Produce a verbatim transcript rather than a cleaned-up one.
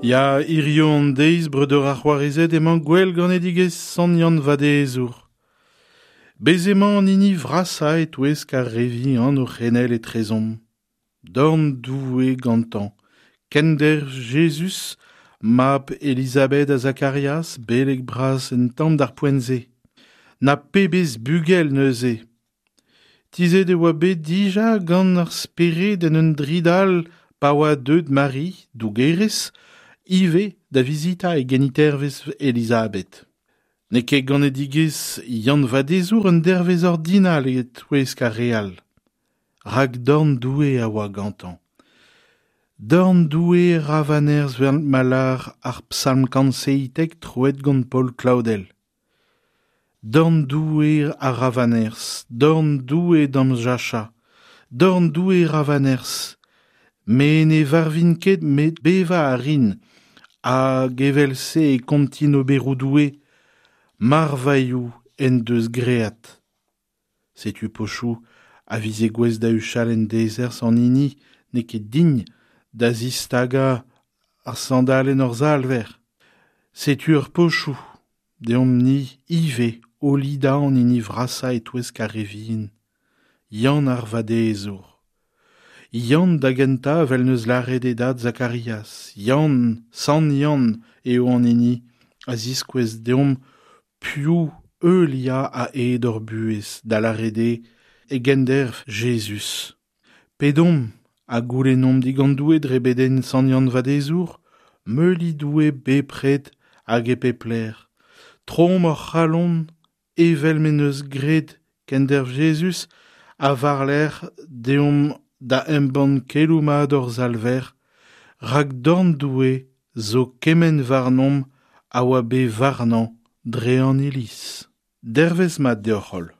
Ya, hirio an deiz breudeur ar c'hoarezed emañ gwell ganedigezh Sant Yann Vadezour. Bez emañ an hini vrasañ e-touesk ar re vihan o c'henel etrezomp. Dorn Doue gantañ, kenderv Jezuz, mab Elizabeth ha Zakarias, beleg bras en tamm d'ar poent-se. Na pebezh bugel neuze. Tizhet e oa bet dija gant ar spered en un dridal pa oa deuet Mari, dougerez, ivez da vizitañ e genitervez Elizabeth. N'eo ket ganedigezh Yann Vadezour un dervezh ordinal e-touesk ar re all. Rak dorn Doue a oa gantañ. Dorn Doue ra va nerzh 'vel ma lâr ar psalm kant seitek troet gant Paul Claudel. Dorn Doue a ra va nerzh, dorn Doue d'am jachañ, dorn Doue ra va nerzh. Me ne varvin ket met bevañ a rin, hag evel-se e kontin oberoù Doue, marvailhoù en deus graet. Setu pochoù a vize gouest da huchal en dezerzh an hini n'eo ket din da zistagañ ar sandalenn hor Salver. Setu ur pochoù, deomp-ni ivez o lidañ an hini vrasañ e-touesk ar re vihan, Yann ar Vadezour. Yann da gentañ evel neus lâret e dad Zakarias. Yann, Sant Yann eo an hini a ziskouez deomp piv heuliañ a-hed hor buhez, da lâret eo e genderv Jezuz. Pedomp ha goulennomp digant Doue dre bedenn Sant Yann Vadezour, meuliñ Doue bepred hag e pep lec'h. Troomp hor c'halon evel m'en deus graet kenderv Jezuz ha war-lerc'h deomp da embann keloù mat hor Salver, rak dorn Doue zo kement warnomp a oa bet warnañ dre an Iliz. Dervezh mat deoc'h holl.